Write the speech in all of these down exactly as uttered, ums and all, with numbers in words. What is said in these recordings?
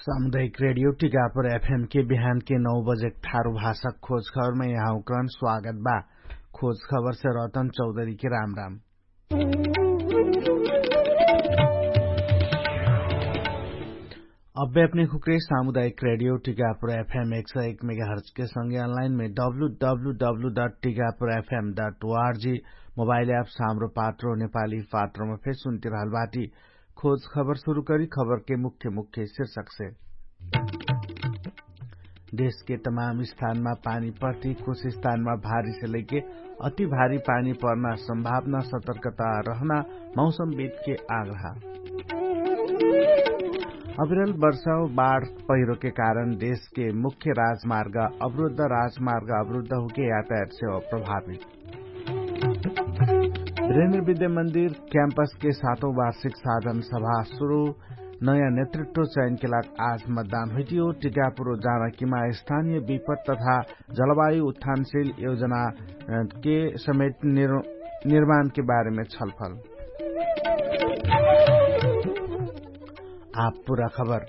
सामुदायिक रेडियो टिकापुर एफएम के बिहान के नौ बजे ठारु भाषा खोज खबरमा यहाँ उक्रन स्वागत बा। खोज खबर से रतन चौधरी के राम राम। अब्बे अपने खुक्रे सामुदायिक रेडियो टिकापुर एफएम एक सौ एक मेगाहर्ज के संगे अनलाइन में W W W dot Tikapur FM dot ORG mobile app साम्रो पात्रो नेपाली पात्रोमा फेर सुन्ति रहल बाटी। खोज खबर सुरु करी खबर के मुख्य मुख्य शीर्षक से। देश के तमाम स्थानमा पानी पर्ति कुछ स्थानमा भारी से लैके अति भारी पानी पर्ना सम्भावना सतर्कता रहना मौसमविद के आग्रह। अविरल वर्षा बाढ पहिरो के कारण देश के मुख्य राजमार्ग अवरुद्ध राजमार्ग अवरुद्ध हुके यातायात सेवा प्रभावित। विद्या मन्दिर क्याम्पस के सातौं वार्षिक साधन सभा सुरु। नयाँ नेतृत्व चयन के लाग आज मतदान हुइटियो। टिकापुर जाना किमा स्थानीय विपत तथा जलवायु उत्थानशील योजना के समेत निर्माण के बारेमे छलफल। आप पुरा खबर।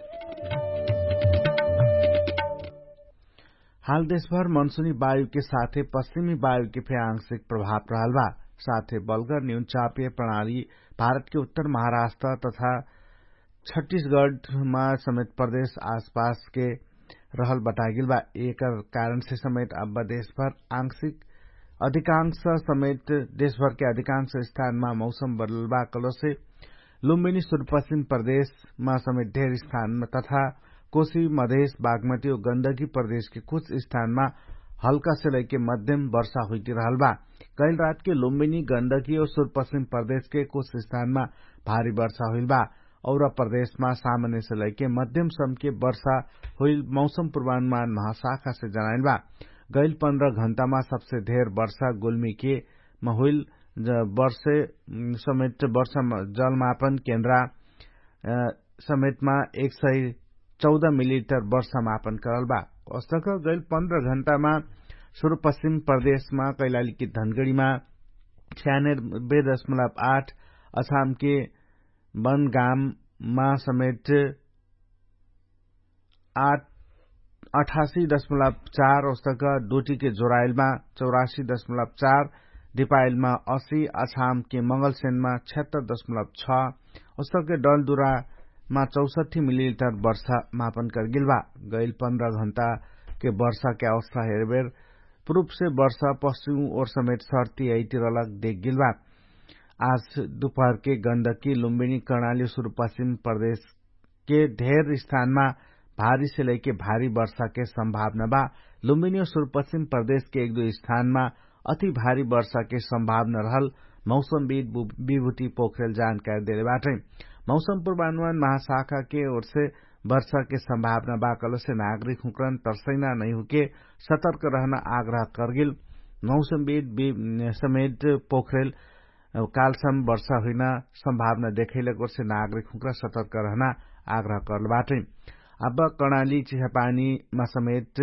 हाल देशभर मनसुनी वायुके साथे पश्चिमी वायुके फे आंशिक प्रभाव रहल बा। साथे बलगर न्यून चापीय प्रणाली भारतके उत्तर महाराष्ट्र तथा छट्टिसगढमा समेत प्रदेश आसपासके रहल बतागेल बा। एकर कारणसे समेत अब देशभर आंशिक अधिकांश समेत देशभरके अधिकांश स्थानमा मौसम बदलल बा कलसे लुम्बिनी सुरपश्चिम प्रदेशमा समेत ढेर स्थानमा तथा कोशी मधेश बागमती और गन्दगी प्रदेशके कुछ स्थानमा हल्का से लैके मध्यम वर्षा हुइटिरहल बा। कैल रातके लुम्बिनी गन्दगी और सुरपश्चिम प्रदेशके कुछ स्थानमा भारी वर्षा हुइल बा। और प्रदेशमा सामान्य से लैके मध्यम समके वर्षा हुइल मौसम पूर्वानुमान महाशाखा से जनाइल बा। गैल पन्ध्र घण्टामा सबसे धेर वर्षा गुल्मीके महुइल वर्षे समेत वर्षा जलमापन केन्द्रा समेतमा एक सय चौध मिलिलिटर वर्षा मापन करल बा। अस्तक गैल पन्ध्र घण्टामा सुरु पश्चिम प्रदेशमा कैलालीकी धनगढीमा छ्यानर बे दशमलब आठ असामके बनगाममा समेत आठ अठासी दशमलब चार ओस्तक डोटीके जोराइलमा चौरासी दशमलब चार दिपाइलमा असी अछामके मङ्गलसेनमा छ्यात्तर दशमलब छ ओस्तक डलदुरामा चौसठी मिलिलिटर वर्षा मापन करगेल बा। गैल पन्ध्र घण्टाके वर्षाके अवस्था हेरबेर पुरुपसे वर्षा पश्चिम ओर समेत सर्ती अइतिरलक देखगेल बा। आज दुपहरके गन्दकी लुम्बिनी कर्णाली सुरु पश्चिम प्रदेश के ढेर स्थानमा भारी से लैके भारी वर्षाके सम्भावना बा। लुम्बिनी और सुरपश्चिम प्रदेशके एक दुइ स्थानमा अति भारी वर्षाके सम्भावना रहल मौसमविद विभूति पोखरेल जानकारी देले बाटै। मौसम पूर्वानुमान महाशाखाके ओरसे वर्षाके सम्भावना बा कलसे नागरिक हुँकरन तर्सैना नैहुके सतर्क रहना आग्रह करगेल। मौसमविद समेत पोखरेल कालसम वर्षा हुइना सम्भावना देखैलक ओरसे नागरिक हुँक्रा सतर्क रहना आग्रह करल बाटै। अब कर्णाली चिसापानीमा समेत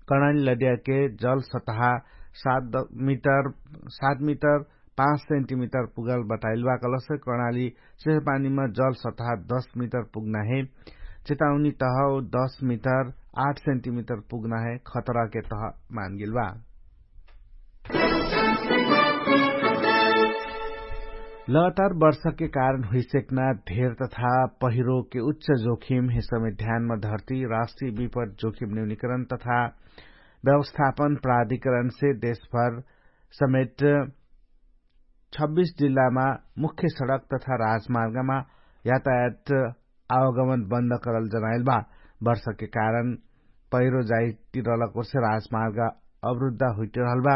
कर्णाली लड्याके जल सतहा सात मिटर सात मिटर पाँच सेन्टिमिटर पुगल बताइल बा कलसे कर्णाली चिसापानीमा जल सतहा दस मिटर पुग्ना हे। चेताउनी तह दस मिटर आठ सेन्टिमिटर पुग्ना हे खतराके तह मानगेल बा। लगातार वर्षाके कारण हुइसेक्ना धेर तथा पहिरोके उच्च जोखिम हे समेत ध्यानमा धर्ती राष्ट्रिय विपट जोखिम न्यूनिकरण तथा व्यवस्थापन प्राधिकरणसे देशभर समेत छब्बिस जिल्लामा मुख्य सडक तथा राजमार्गमा यातायात आवागमन बन्द करल जनाइल बा। वर्षाके कारण पहिरो जाइतिरलक ओरसे राजमार्ग अवरुद्ध हुइटिरहल बा।